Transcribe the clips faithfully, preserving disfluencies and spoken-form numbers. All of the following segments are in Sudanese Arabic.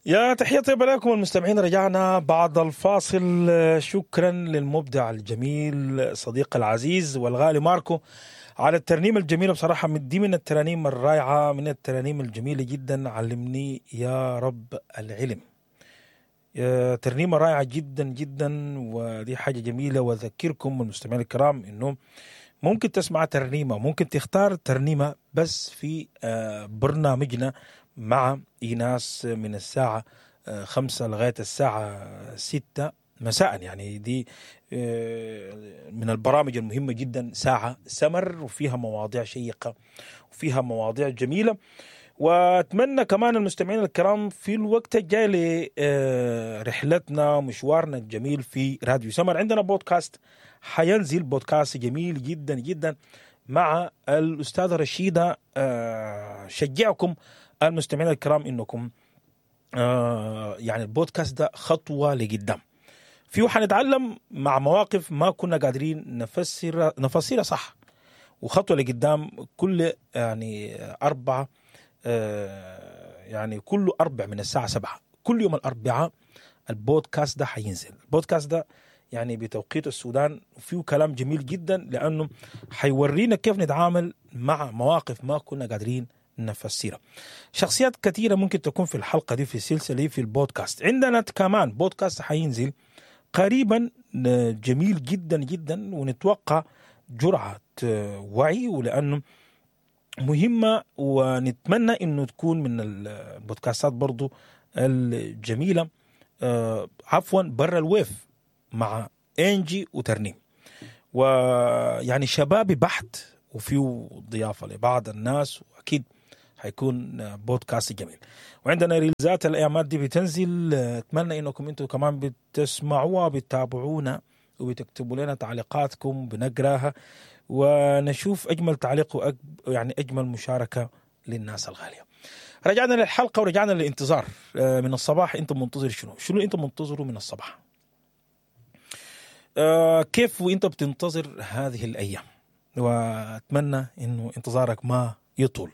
يا تحية طيبة لكم المستمعين، رجعنا بعد الفاصل. شكرا للمبدع الجميل صديق العزيز والغالي ماركو على الترنيمة الجميلة. بصراحة دي من الترانيم الرائعة، من الترانيم الجميلة جدا. علمني يا رب العلم، ترنيمة رائعة جدا جدا، ودي حاجة جميلة. وأذكركم المستمعين الكرام إنه ممكن تسمع ترنيمة، ممكن تختار ترنيمة بس في برنامجنا مع إيناس من الساعة خمسة لغاية الساعة ستة مساء. يعني دي من البرامج المهمة جدا، ساعة سمر وفيها مواضيع شيقة وفيها مواضيع جميلة. وأتمنى كمان المستمعين الكرام في الوقت الجاي لرحلتنا مشوارنا الجميل في راديو سمر، عندنا بودكاست حينزل، بودكاست جميل جدا جدا مع الأستاذة رشيدة. شجعكم المستمعين الكرام إنكم يعني البودكاست ده خطوة لقدام فيه، حنتعلم مع مواقف ما كنا قادرين نفسر نفسرها صح، وخطوة لقدام كل يعني أربعة يعني كل أربع من الساعة سبعة كل يوم الأربعاء البودكاست ده حينزل. البودكاست ده يعني بتوقيت السودان، وفيه كلام جميل جدا لأنه حيورينا كيف نتعامل مع مواقف ما كنا قادرين نفسرها. شخصيات كثيرة ممكن تكون في الحلقة دي، في السلسلة في البودكاست. عندنا كمان بودكاست حينزل قريبا جميل جدا جدا، ونتوقع جرعة وعي ولأنه مهمة، ونتمنى إنه تكون من البودكاستات برضو الجميلة. عفوا برا الويف مع إنجي وترنيم، ويعني شبابي بحت وفيه ضيافة لبعض الناس، وأكيد حيكون بودكاست جميل. وعندنا ريلزات الأيامات دي بتنزل، أتمنى إنكم أنتم كمان بتسمعوها بتتابعونا وبتكتبوا لنا تعليقاتكم، بنقراها ونشوف أجمل تعليق وأجب يعني أجمل مشاركة للناس الغالية. رجعنا للحلقة ورجعنا للانتظار من الصباح. أنت منتظر شنو؟ شنو أنت منتظره من الصباح؟ كيف وأنت بتنتظر هذه الأيام؟ وأتمنى إنه انتظارك ما يطول.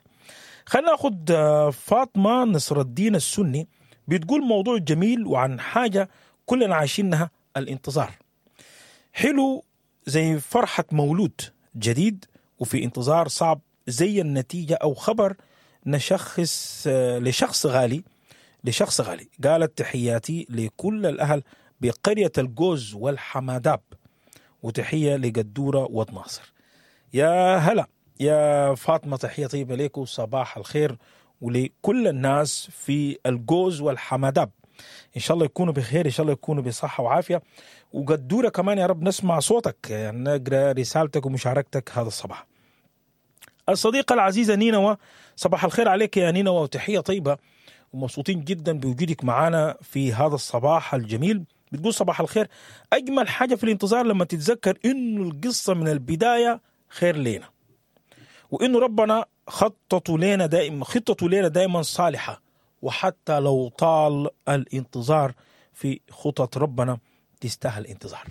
خلينا ناخد فاطمة نصر الدين السني، بتقول موضوع جميل وعن حاجة كلنا عايشينها، الانتظار. حلو زي فرحة مولود جديد وفي انتظار صعب زي النتيجة أو خبر نشخص لشخص غالي لشخص غالي. قالت تحياتي لكل الأهل بقرية الجوز والحماداب، وتحية لقدورة ودناصر. يا هلا يا فاطمة، تحية طيبة لكم، صباح الخير ولكل الناس في الجوز والحماداب. إن شاء الله يكونوا بخير، إن شاء الله يكونوا بصحة وعافية. وقدورة كمان يا رب نسمع صوتك، يعني نقرأ رسالتك ومشاركتك هذا الصباح. الصديقة العزيزة نينوى، صباح الخير عليك يا نينوى، وتحية طيبة ومبسوطين جدا بوجودك معنا في هذا الصباح الجميل. بتقول صباح الخير، أجمل حاجة في الانتظار لما تتذكر إنه القصة من البداية خير لنا، وإنه ربنا خطته لنا دائما خطته لنا دائما صالحة، وحتى لو طال الانتظار في خطط ربنا تستاهل الانتظار،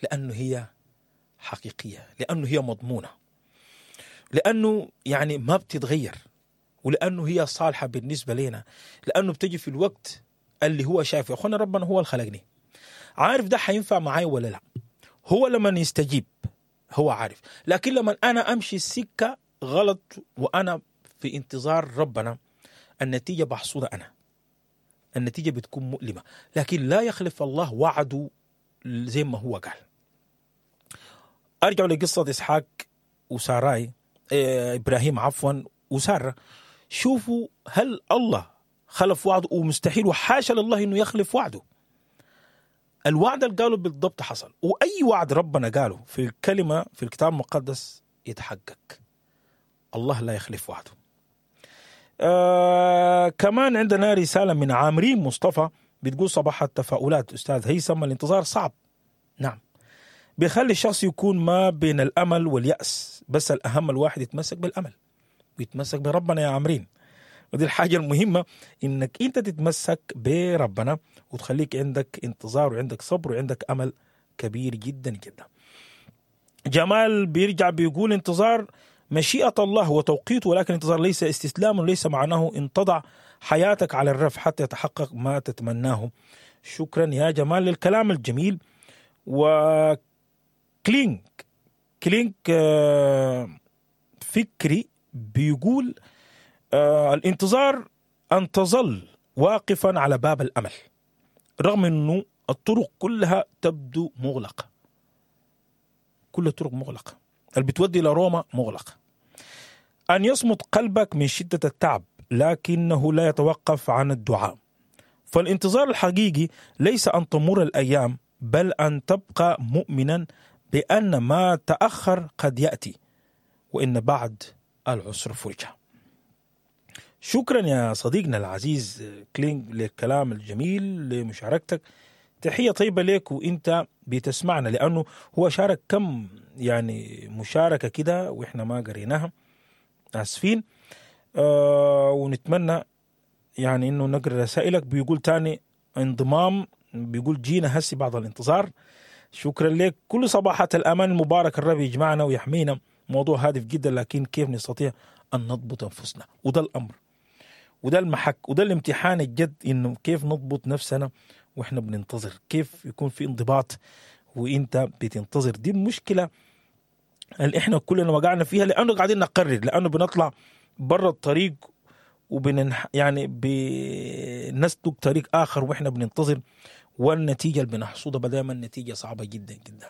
لأنه هي حقيقية، لأنه هي مضمونة، لأنه يعني ما بتتغير، ولأنه هي صالحة بالنسبة لنا، لأنه بتجي في الوقت اللي هو شايفه. يا أخوانا ربنا هو اللي خلقني، عارف ده حينفع معي ولا لا، هو لما يستجيب هو عارف، لكن لما أنا أمشي السكة غلط وأنا في انتظار ربنا، النتيجة بحصودها أنا، النتيجة بتكون مؤلمة، لكن لا يخلف الله وعده زي ما هو قال. أرجع لقصة إسحاق وساراي، إبراهيم عفوا وسارة. شوفوا هل الله خلف وعده؟ ومستحيل، وحاشا لله إنه يخلف وعده. الوعد اللي قاله بالضبط حصل، وأي وعد ربنا قاله في الكلمة في الكتاب المقدس يتحقق. الله لا يخلف وعده. آه كمان عندنا رسالة من عامرين مصطفى بتقول صباح التفاؤلات أستاذ هيثم، الانتظار صعب. نعم، بيخلي الشخص يكون ما بين الأمل واليأس، بس الأهم الواحد يتمسك بالأمل ويتمسك بربنا يا عامرين. ودي الحاجة المهمة، إنك أنت تتمسك بربنا وتخليك عندك انتظار وعندك صبر وعندك أمل كبير جدا جدا. جمال بيرجع بيقول انتظار مشيئة الله وتوقيته، ولكن الانتظار ليس استسلام، وليس معناه ان تضع حياتك على الرف حتى يتحقق ما تتمناه. شكرا يا جمال للكلام الجميل. وكلينك كلينك آه، فكري بيقول آه، الانتظار أن تظل واقفا على باب الأمل رغم أنه الطرق كلها تبدو مغلقة. كل الطرق مغلقة، اللي بتودي لروما مغلقة. أن يصمت قلبك من شدة التعب لكنه لا يتوقف عن الدعاء. فالانتظار الحقيقي ليس أن تمر الأيام، بل أن تبقى مؤمنا بأن ما تأخر قد يأتي، وإن بعد العسر فرجة. شكرا يا صديقنا العزيز كلينج للكلام الجميل، لمشاركتك. تحية طيبة لك وانت بتسمعنا، لأنه هو شارك كم يعني مشاركة كده وإحنا ما قريناها، آسفين. آه ونتمنى يعني إنه نقرأ رسائلك. بيقول تاني انضمام، بيقول جينا هسي بعد الانتظار. شكرا لك. كل صباحات الأمان المبارك، الرب يجمعنا ويحمينا. موضوع هادف جدا، لكن كيف نستطيع أن نضبط أنفسنا؟ وده الأمر وده المحك وده الامتحان الجد، إنه كيف نضبط نفسنا وإحنا بننتظر، كيف يكون في انضباط وإنت بتنتظر. دي المشكلة اللي إحنا كلنا وقعنا فيها، لأنه قاعدين نقرر، لأنه بنطلع برا الطريق وبننح يعني بنسلك طريق آخر وإحنا بننتظر، والنتيجة اللي بنحصدها دائما نتيجة صعبة جدا جدا.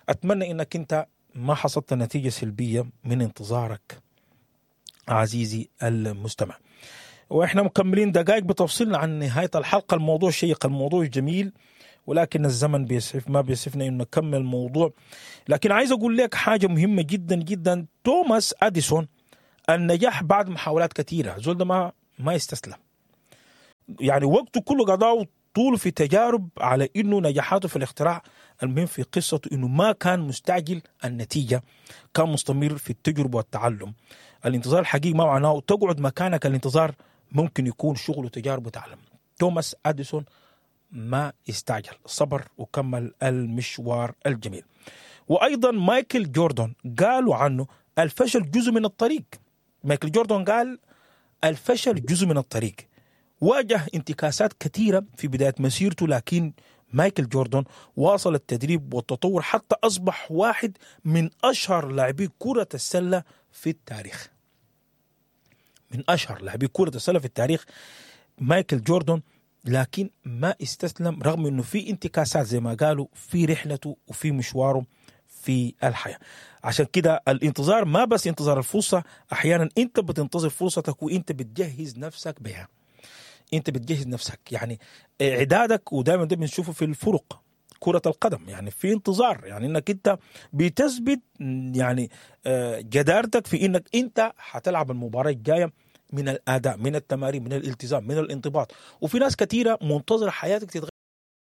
أتمنى إنك أنت ما حصدت نتيجة سلبية من انتظارك عزيزي المستمع. وإحنا مكملين دقائق بتفصيلنا عن نهاية الحلقة. الموضوع شيق، الموضوع جميل، ولكن الزمن بيسعف ما بيسعفنا إنه نكمل الموضوع. لكن عايز أقول لك حاجة مهمة جدا جدا. توماس أديسون النجاح بعد محاولات كثيرة، زول ده ما ما يستسلم، يعني وقته كله قضاه طول في تجارب على إنه نجاحاته في الاختراع. المهم في قصته إنه ما كان مستعجل النتيجة، كان مستمر في التجربة والتعلم. الانتظار الحقيقي ما معناه تقعد مكانك، الانتظار ممكن يكون شغل وتجارب وتعلم. توماس أديسون ما استعجل، صبر وكمل المشوار الجميل. وأيضا مايكل جوردن قالوا عنه الفشل جزء من الطريق. مايكل جوردن قال الفشل جزء من الطريق. واجه انتكاسات كثيرة في بداية مسيرته، لكن مايكل جوردن واصل التدريب والتطور حتى أصبح واحد من أشهر لاعبي كرة السلة في التاريخ. من أشهر لاعبي كرة السلة في التاريخ مايكل جوردن، لكن ما استسلم رغم أنه في انتكاسات زي ما قالوا في رحلته وفي مشواره في الحياة. عشان كده الانتظار ما بس انتظار الفرصة، أحيانا أنت بتنتظر فرصتك وأنت بتجهز نفسك بها. أنت بتجهز نفسك يعني إعدادك، ودائما ده بنشوفه في الفرق كرة القدم، يعني في انتظار، يعني أنك أنت بتثبت يعني جدارتك في أنك أنت هتلعب المباراة الجاية من الأداء، من التمارين، من الالتزام، من الانضباط. وفي ناس كثيرة منتظرة حياتك تتغير.